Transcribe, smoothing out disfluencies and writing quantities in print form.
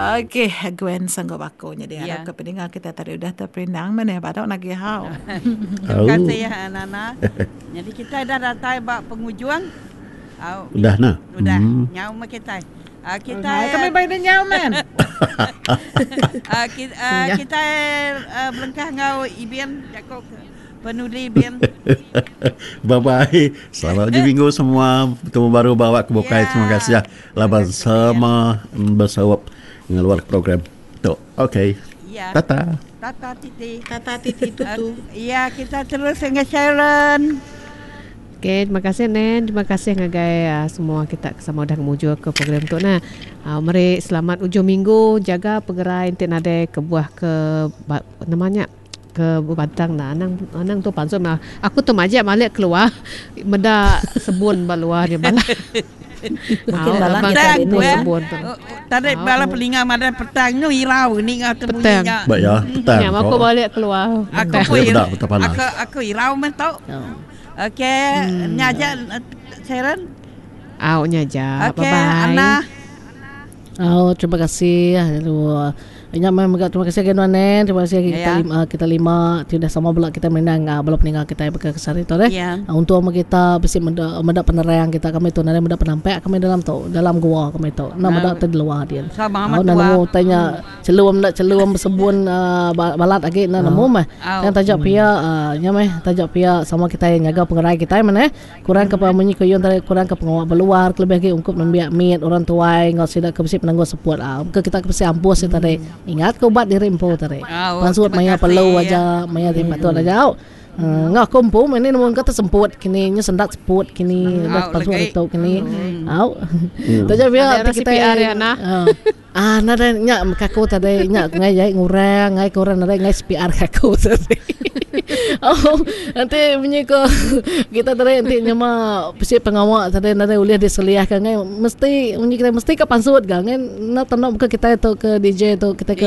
Okey, Gwen sanggup aku nyadi arap ke peninga kita tadi udah terperindang meh neh badu nagih hau. Terima kasih Nana. Nyadi kitai dah datai ba pengujung. Au. Udah nah. Udah. Nyau meh kitai. Kitai kami bai dah nyau men. Kitai belengkah enggau Ibin jaku Penudi bin. Bye bye. Selamat ujung minggu semua. Betemu baru ba awak ke bukai. Terima kasih laban sama besaup ngeluar program tu. Okey. Ya. Tata. Tata titi. Tata titi tutu. Ya, kita terus dengan Sharon. Okey, terima kasih Nen. Terima kasih ngagai uh, semua kita ke sama udah ngemujur ke program tu nah. Uh, meri selamat ujung minggu, jaga pegerai enti nadai kebuah ke nama nya ke bebantang enda anang anang tu pansut mah aku tu majak malik keluar meda sebun ba luar nya bala mungkin bala kita ni sebun tu tadi bala peninga madah petang nyu irau ninga tu bunyi nya ba ya petang nya aku balik keluar aku pun aku aku irau meh tu okey nya aja Sharon au nya aja bye bye Anna au terima kasih lalu Nya meh mega terima kasih agi nuan Nen, terima kasih agi kita lima kita lima ti udah sama bela kita merindang bala peninga kitai baka ke sehari tu deh. Untung meh kita bisi meda meda penerang kita kami tu nadai meda penampak kami dalam tu dalam gua kami tu enda meda ti diluar din. Au enda nemu utai nya chelum enda chelum besebun uhh balat agi enda nemu meh. Tang taja pia uhh nya meh taja pia sama kitai nyaga pengerai kitai meh neh. Kurang ke munyi ku Yun tadi kurang ke pengawa beluar kelebih agi ungkup nembiak mit, orang tuai enggau sida ke bisi penanggul seput. Ke kita ke bisi ampus nya tadi ingat ke ubat diri empu tadi. Pansut maya perlu aja maya ti patut aja au. Enggau aku empu meh ni nemu engka tesemput kini nyu sendat seput kini udah pansut ditu kini au. Taja pia ti kitai Ah nadai nya meka aku tadi nya ngai jai ngurang ngai ke orang nadai ngai CPR ke aku tadi. Oh enti munyi ko kita tadi enti nyema bisi pengawa tadi nadai ulih diseliahka ngai mesti munyi kita mesti ka pansut ga ngai enda tau buka kitai tu ke DJ tu kitai ke.